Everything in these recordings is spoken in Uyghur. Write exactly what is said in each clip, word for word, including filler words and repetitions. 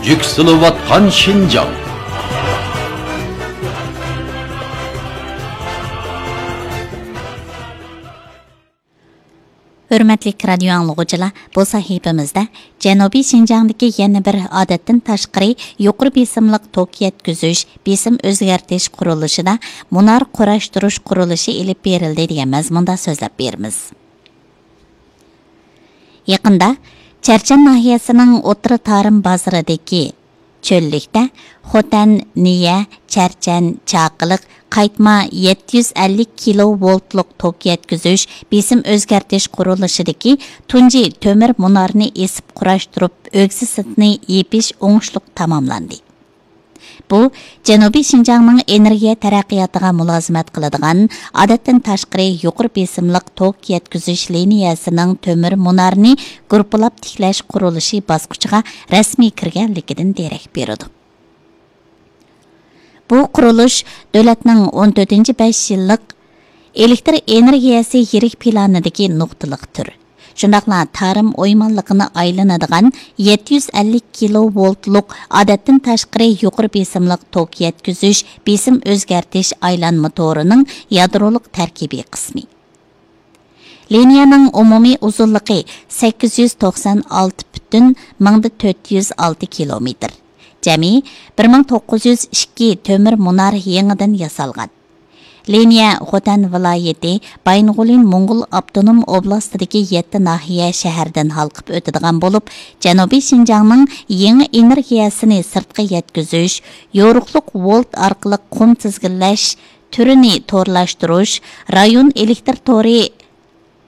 يۈكسىلىۋاتقان شىنجاڭ. ھۆرمەتلىك رادىيو ئاڭلىغۇچىلار، بۇ سەھىپىمىزدە جەنۇبىي شىنجاڭدىكى يەنە بىر ئادەتتىن تاشقىرى يۇقىرى بېسىملىق توك يەتكۈزۈش، بېسىم ئۆزگەرتىش قۇرۇلۇشىدا مۇنار قۇراشتۇرۇش قۇرۇلۇشى ئېلىپ بېرىلدى دېگەن مەزمۇندا سۆزلەپ بېرىمىز. يېقىندا چەرچەن ناھىيەسىنىڭ ئوتتۇرا تارىم بازىرىدىكى چۆللۈكتە خوتەن، نىيە، چەرچەن، چاقىلىق، قايتما يەتتە يۈز ئەللىك كىلو ۋولتلۇق توك يەتكۈزۈش، بېسىم ئۆزگەرتىش قۇرۇلۇشىدىكى تۇنجى تۆمۈر مۇنارنى ئېسىپ قۇراشتۇرۇپ، ئۆگزە سىرتىنى يېپىش ئوڭۇشلۇق تاماملاندى. بۇ، جەنۇبىي شىنجاڭنىڭ ئېنېرگىيە تەرەققىياتىغا مۇلازىمەت قىلىدىغان ئادەتتىن تاشقىرى يۇقىرى بېسىملىق توك يەتكۈزۈش لىنىيەسىنىڭ تۆمۈر مۇنارىنى گۇرۇپپىلاپ تىكلەش قۇرۇلۇشى باسقۇچىغا رەسمىي كىرگەنلىكىدىن دېرەك بېرىدۇ. بۇ قۇرۇلۇش دۆلەتنىڭ ئون تۆتىنچى بەش يىللىق ئېلېكتر ئېنېرگىيەسى يىرىك پىلانىدىكى نۇقتىلىق تۈر. شۇنداقلا تارىم ئويمانلىقىنى ئايلىنىدىغان يەتتە يۈز ئەللىك كىلو ۋولتلۇق ئادەتتىن تاشقىرى يۇقىرى بېسىملىق توك يەتكۈزۈش، بېسىم ئۆزگەرتىش ئايلانما تورىنىڭ يادرولۇق تەركىبىي قىسمى. لىنىيەنىڭ ئومۇمىي ئۇزۇنلۇقى سەككىز يۈز توقسان ئالتە پۈتۈن مىڭدا تۆت يۈز ئالتە كىلومېتىر. جەمئىي بىر مىڭ توققۇز يۈز ئىككى تۆمۈر مۇنار يېڭىدىن ياسالغان. لىنىيە خوتەن ۋىلايىتى، بايىنغولىن موڭغۇل ئاپتونوم ئوبلاستىدىكى يەتتە ناھىيە، شەھەردىن ھالقىپ ئۆتىدىغان بولۇپ، جەنۇبىي شىنجاڭنىڭ يېڭى ئېنېرگىيەسىنى سىرتقا يەتكۈزۈش، يورۇقلۇق ۋولت ئارقىلىق قۇم تىزگىنلەش تۈرىنى تورلاشتۇرۇش، رايون ئېلېكتر تورى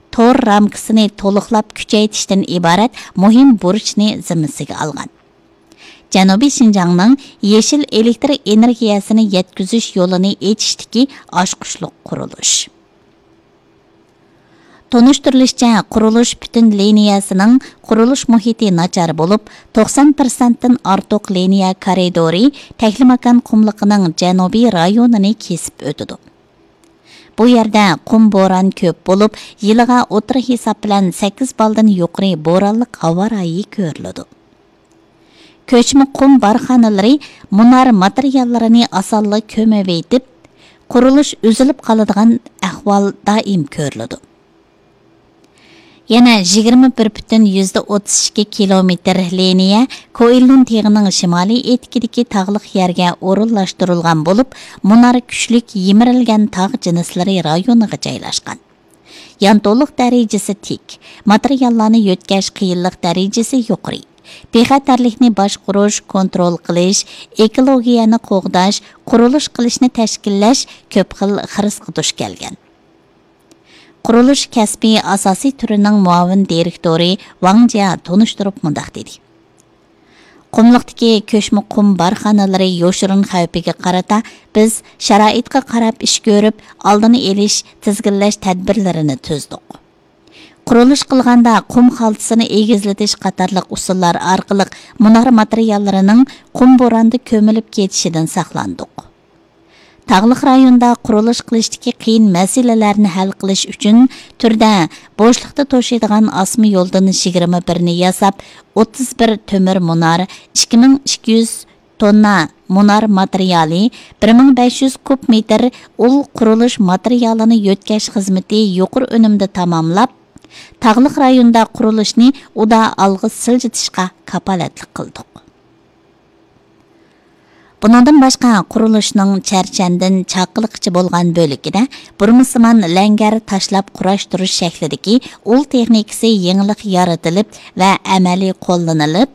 تور رامكىسىنى تولۇقلاپ كۈچەيتىشتىن ئىبارەت مۇھىم بۇرچنى زىممىسىگە ئالغان. جەنۇبىي شىنجاڭنىڭ يېشىل ئېلېكتر ئېنېرگىيەسىنى يەتكۈزۈش يولىنى ئېچىشتىكى ئاچقۇچلۇق قۇرۇلۇش. تونۇشتۇرۇلۇشىچە، قۇرۇلۇش پۈتۈن لىنىيەسىنىڭ قۇرۇلۇش مۇھىتى ناچار بولۇپ، توقسان پىرسەنتتىن ئارتۇق لىنىيە كارىدورى تەكلىماكان قۇملۇقىنىڭ جەنۇبىي رايونىنى كېسىپ ئۆتىدۇ. بۇ يەردە قۇم بوران كۆپ بولۇپ، يىلىغا ئوتتۇرا ھېساب بىلەن سەككىز بالدىن يۇقىرى بورانلىق ھاۋا رايى كۆرۈلىدۇ. كۆچمە قۇم بارخانىلىرى مۇنار ماتېرىياللىرىنى ئاسانلا كۆمۈۋېتىپ، قۇرۇلۇش ئۈزۈلۈپ قالىدىغان ئەھۋال دائىم كۆرۈلىدۇ. يەنە يىگىرمە بىر پۈتۈن يۈزدە ئوتتۇز ئىككى كىلومېتىر لىنىيە كوئىللۇن تېغىنىڭ شىمالىي ئېتىكىدىكى تاغلىق يەرگە ئورۇنلاشتۇرۇلغان بولۇپ، مۇنار كۈچلۈك يىمىرىلگەن تاغ جىنسلىرى رايونىغا جايلاشقان. يانتونلۇق دەرىجىسى تىك، ماتېرىياللارنى يۆتكەش قىيىنلىق دەرىجىسى يۇقىرى. بىخەتەرلىكنى باشقۇرۇش، كونترول قىلىش، ئېكولوگىيەنى قوغداش، قۇرۇلۇش قىلىشنى تەشكىللەش كۆپ خىل خىرىسقا دۇچ كەلگەن. قۇرۇلۇش كەسپى ئاساسىي تۈرىنىڭ مۇئاۋىن دىرېكتورى ۋاڭ جيا تونۇشتۇرۇپ مۇنداق دېدى: قۇملۇقتىكى كۆچمە قۇم بارخانىلىرى يوشۇرۇن خەۋپىگە قارىتا، بىز شارائىتقا قاراپ ئىش كۆرۈپ، ئالدىنى ئېلىش، تىزگىنلەش تەدبىرلىرىنى تۈزدۇق. قۇرۇلۇش قىلغاندا قۇم خالتىسىنى ئېگىزلىتىش قاتارلىق ئۇسۇللار ئارقىلىق مۇنار ماتېرىياللىرىنىڭ قۇم بوراندا كۆمۈلۈپ كېتىشىدىن ساقلاندۇق. تاغلىق رايوندا قۇرۇلۇش قىلىشتىكى قىيىن مەسىلىلەرنى ھەل قىلىش ئۈچۈن تۈردە بوشلۇقتا توشۇيدىغان ئاسما يولدىن يىگىرمە بىرنى ياساپ، ئوتتۇز بىر تۆمۈر مۇنار، ئىككى مىڭ ئىككى يۈز توننا مۇنار ماتېرىيالى، بىر مىڭ بەش يۈز كۇب مېتىر ئۇل قۇرۇلۇش ماتېرىيالىنى يۆتكەش خىزمىتى يۇقىرى ئۈنۈمدە تاماملاپ، تاغلىق رايوندا قۇرۇلۇشنى ئۇدا ئالغا سىلجىتىشقا كاپالەتلىك قىلدۇق. بۇنىڭدىن باشقا، قۇرۇلۇشنىڭ چەرچەندىن چاقىلىققىچە بولغان بۆلىكىدە بۇرمىسىمان لەڭگەر تاشلاپ قۇراشتۇرۇش شەكلىدىكى ئۇل تېخنىكىسى يېڭىلىق يارىتىلىپ ۋە ئەمەلىي قوللىنىلىپ،